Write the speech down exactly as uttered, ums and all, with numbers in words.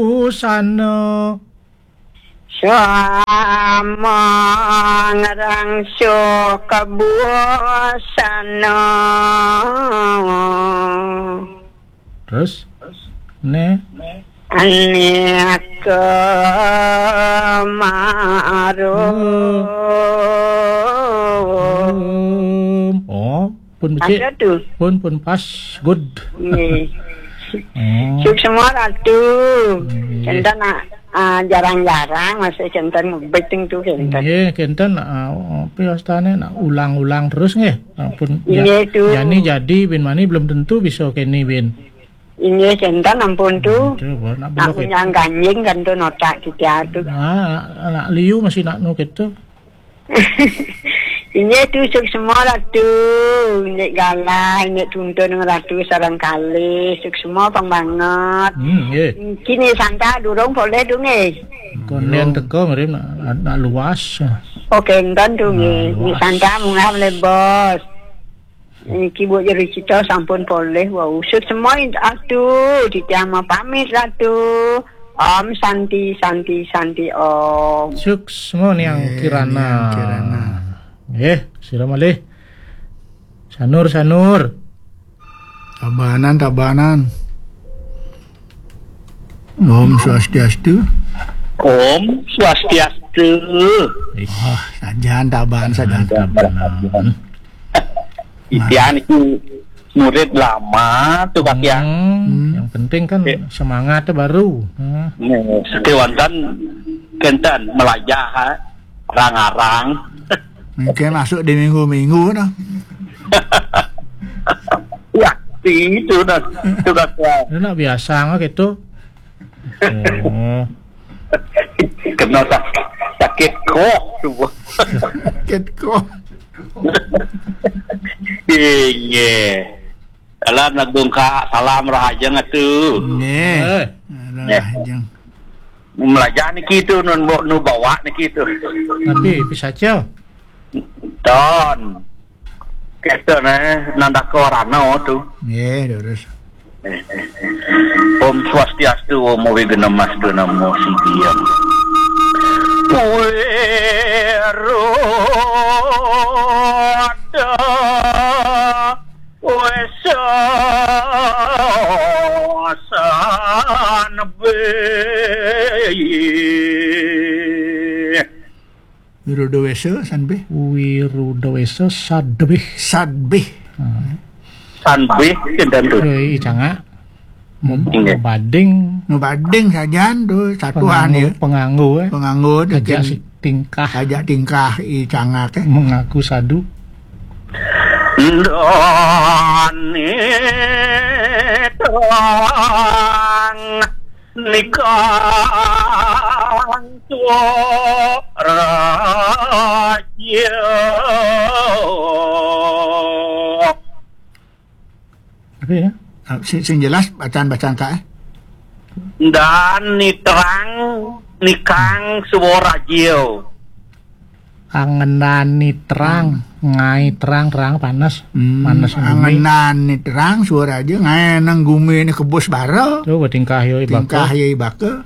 Usana. Sama ngarang so kabusana. Terus? Ne. Ane kemaru. Hmm. Oh, pun becik. Ada tu. Pun, pun pas. Good. Nggih. Oh. Suksma Ratu. Nggih. Kenten nak, ah, jarang-jarang masih kenten beting tu kenten. Nggih, kenten nak, ah, apa wastane nak ulang-ulang terus nggih. Ampun. Nggih, tu. Jani jadi bin mani belum tentu bisa keni bin. Inggih, kenten ampun tu. Itu, nak belok itu. Aku nyang ganjing kan tu notak kita tu. Nah, anak liu masih nak nu gitu. Inggih tu, suksma Ratu. Inggih galah, inggih tuntun Ratu sareng kalih. Suksma pang banget. Hmm, nggih. Kini Santa durung boleh tu nggih. Konden teko mrene nak, nak luas. Oh, kenten tu nggih. Nah, luas. Inggih Santa munggah le bos. Niki Bu Jero Cita sampun polih wau. Suksma Ratu, titiang mapamit Ratu. Om Santi, Santi, Santi Om. Suksma Niang Kirana. Niang Kirana. Nggih, sira malih. Sanur, Sanur. Tabanan, Tabanan. Om Swastiastu. Om Swastiastu. Ih. Oh, sajan Tabanan, sajan. Tabanan. Titiang niki murid lama tu, Kak, ya. Hmm, yang penting kan semangatnya baru. Hmm. Nih, sekewanten kenten melajah, ha, arang-arang. Mungkin masuk di minggu-minggu dah. Ya, itu dah. Itu dah. Dia nak biasa nggak gitu. Oh. Kena sak-, sakit kok tu. Sakit kok. Inggih. Dalam nagungka salam rahajeng atu. Nggih. Eh. Rahajeng. Melajah niki tu nun bo-, nu bawa niki tu. Tapi pisaca. Ton. Kita ne nandaka rana tu. Nggih, terus. Om Swastiastu, Om Awighnamastu, Namo Siddhiyam. Wiruddha Wesa Sanbe. Wirudawesa, Sanbih. Wirudawesa, Sadbih. Sadbih. Hmm. Sanbih, kinten tu. Hei, cangak. Hmm. Inggih. Bading. Nu bading sajan tu, satuan penganggu, ya. Penganggu, eh. Penganggu tu. Ajak tingkah. Ajak tingkah, i cangak, eh. Mengaku sadu. Dani terang. Nikang tua raja. Apa ya? Ah, sing, sing jelas bacaan-bacaan Kak, eh? Dan ni terang, nikang suara raja. Angenani terang, hmm, ngai terang, terang panas, hmm, panas bumi. Angenani terang, suara raja, ngai nang gumi ni kebus bara. Coba tingkah yoi baka. Tingkah yoi baka.